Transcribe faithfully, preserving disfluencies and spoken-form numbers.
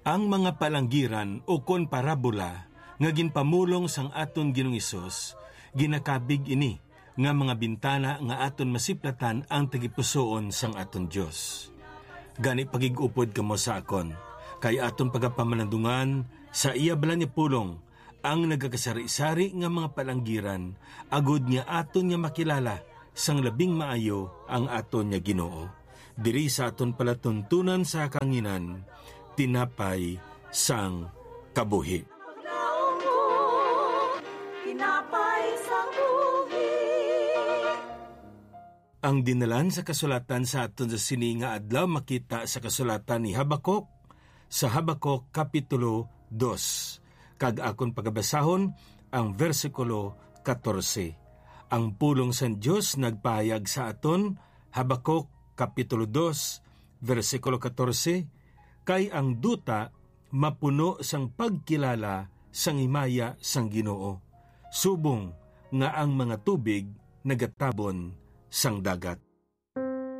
Ang mga palanggiran ukon parabola nga ginpamulong sang aton Ginoong Hesus, ginakabig ini nga mga bintana nga aton masiplatan ang tagipusoon sang aton Dios. Gani, pagig-upod kamo sa akon, kay aton pagapamalandungan sa iya balaan nga pulong ang nagakasari-sari nga mga palanggiran, agud nga aton nga makilala sang labing maayo ang aton nga Ginoo. Diri sa aton palatuntunan sa kahanginan, tinapay sang kabuhi. Paglaom mo, tinapay sang buhi. Ang dinalan sa kasulatan sa aton sa sini nga adlaw makita sa kasulatan ni Habacuc, sa Habacuc Kapitulo dos, kag akon pagabasahon ang bersikulo katorse. Ang pulong sang Dios nagpahayag sa aton, Habacuc Kapitulo dos, bersikulo katorse, "Kay ang duta mapuno sang pagkilala sang himaya sang Ginoo, subong nga ang mga tubig nagatabon sang dagat."